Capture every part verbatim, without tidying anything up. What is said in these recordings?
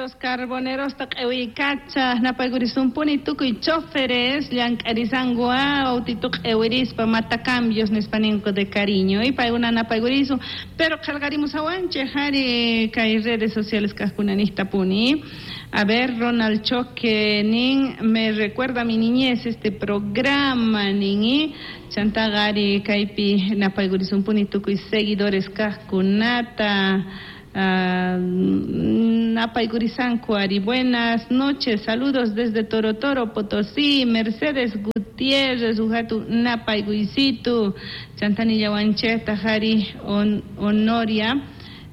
Autos carbonerosta q'ewiykacha napaykurisunpuni tukuy choferes llank'arisanku autito q'ewirispa matacambios nispa ninku de cariño y paykuna napaykurisun pero qillqarimusawanchej ari kay redes sociales kajkunanijtapuni. A ver, Ronald Choque nin me recuerda mi niñez este programa nin chantaqa ari kaypi napaykurisunpuni tukuy seguidores kajkunata. Uh, napaykurisanku ari. Buenas noches, saludos desde Toro Toro, Potosí. Mercedes Gutiérrez, ujatu napaykuysitu. Chantanillawanchejta ari on, Honoria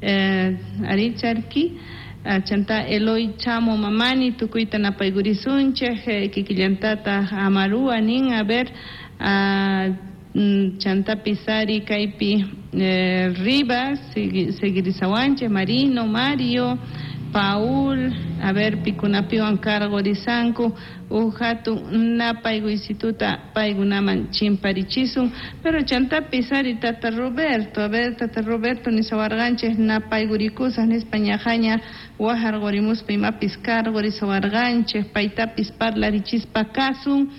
eh, ari charki. Uh, chanta Eloy Chamo Mamani, tukuyta napaykurisunchej, eh, kikillantata Amarua nin, a ver, uh, chanta Pisari, kaypi eh, Rivas, seguirisawanchej, Marino, Mario, Paul, a ver, pikunapiwan cargorisanku, ujatu napaykuysituta paykunaman chimparichisun, pero chanta Pisari tata Roberto, a ver, tata Roberto nisawarqanchej napaykurikusaj nispa ñajaña wajarqurimuspa imapis cargorisawarqanchej, paytapis parlarichispa kasun.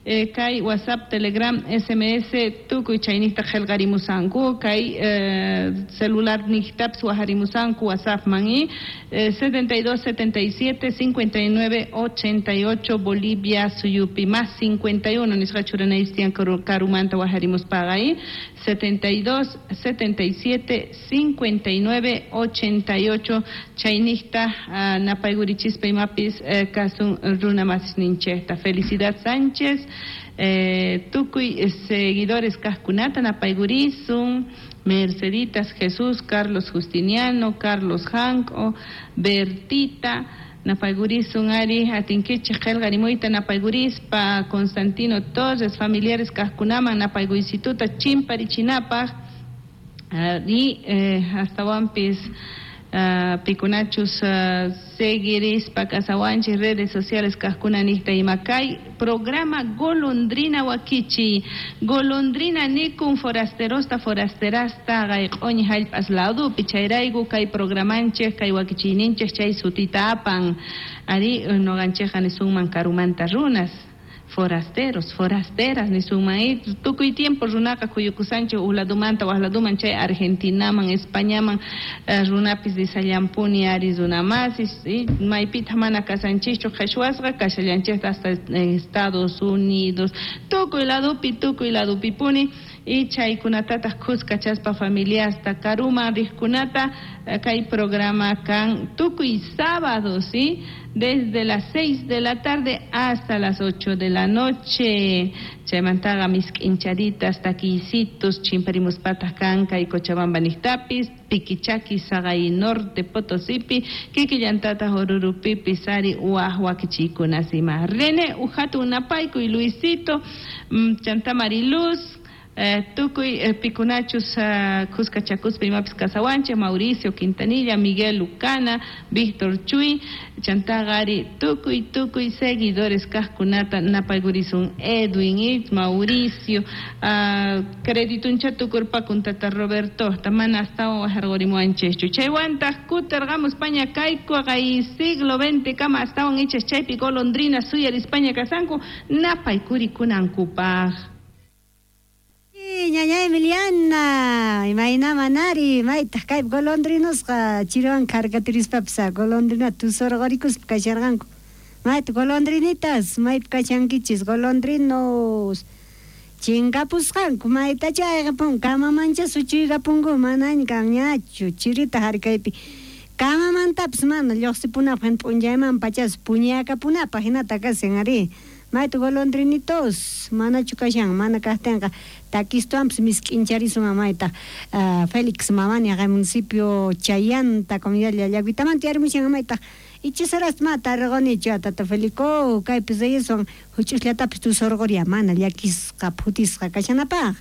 Eh, kay WhatsApp, Telegram, S M S, tukuy chaynijta qillqarimusanku, kay eh, celular nijtapis wajarimusanku WhatsApp man y eh, setenta y dos, setenta y siete, cincuenta y nueve, ochenta y ocho, Bolivia, Suyupi, más cincuenta y uno, nisqa churanaystian karumanta wajarimuspaqa y setenta y dos, setenta y siete, cincuenta y nueve, ochenta y ocho, chaynijta uh, napaykurichispa imapis eh, kasun runa masisninchejta. Felicidad Sánchez, Eh, tukuy seguidores kajkunata napaykurisun, Merceditas Jesús, Carlos Justiniano, Carlos Janco, Bertita, napaykurisun ari atinkichej qillqarimuyta napaykurispa, Constantino Torres, familiares kajkunaman napaykuysituta chimparichinapaj, y eh, hastawanpis Uh, pikunachus uh, seguirispa kasawanchis redes sociales kajkunanijta ima kay programa Golondrina Wakichi, Golondrina nikun forasterosta forasterasta q'oñi jallp'as ladupi chayrayku kay programanchej kay wakichiyninchej chay sutita apan ari noqanchejqa nisunman karumanta runas forasteros, forasteras nisunman tukuy tiempo runaqa kuyukusanchej uqladumanta waqladuman chay Argentinaman, Españaman uh, runapis disallampuni ari runamasis maypita mana kasanchikchu qheshwasqa kashallanchejta hasta Estados Unidos tukuy ladupi tukuy ladupipuni y chaykunatataq khuskachaspa familiasta karuman riqkunata kay programa kan tukuy sábado, ¿sí? Desde las seis de la tarde hasta las ocho de la noche. Chaymantaqa misk'inchaditas, takiysitos, chimparimuspataj kan kay Cochabamba niqtapis, Piquichaqui, Sagay Norte, Potosipi, kikillantataq Orurupipis, ari waj wakichiykunas ima. René ujatu napaykuy, Luisito, chanta Mariluz, Eh, tukuy eh, pikunachus uh, khuskachakuspa imapis kasawanchej, Mauricio Quintanilla, Miguel Lucana, Víctor Chuy, chantaqa ari tukuy tukuy seguidores kajkunata napaykurisun, Edwin y Mauricio, uh, credituncha tukurpakun tata Roberto, mana astawan wajarqurimuwanchejchu. Chaywantaq kutirqamus paña kayku kay siglo veinte kama astawan ichas chaypi golondrina suyarispaña kasanku napaykurikunankupaj. Ñaña Emiliana, imayna manari, maytaq kaypi golondrinosqa chiriwan karkatirispapis golondrina tusurqurikuspa kasharqanku. Mayta golondrinitas, maypi kashankichis golondrinos. Chinkapusqanku maytacha ayqapunku, kamamancha suchuykapunku manaña kanñachu chirita harkaypi. Kamamantapis mana lluqsipunapaq p'unchayman pachas puñakapunapaq hinata kashan ari. Mayta golondrinitos, manachu kashan, mana kajtinqa takistuanpis misk'incharisun mayta uh, Félix Mamani kay municipio Chayanta comunidad Llallaguitamanta yarimushan mayta ichisaras ma tarqonichu tata Felico kaypis reyeswan huch'usllatapis tusurquria mana llakisqa phutisqa kashanapaq.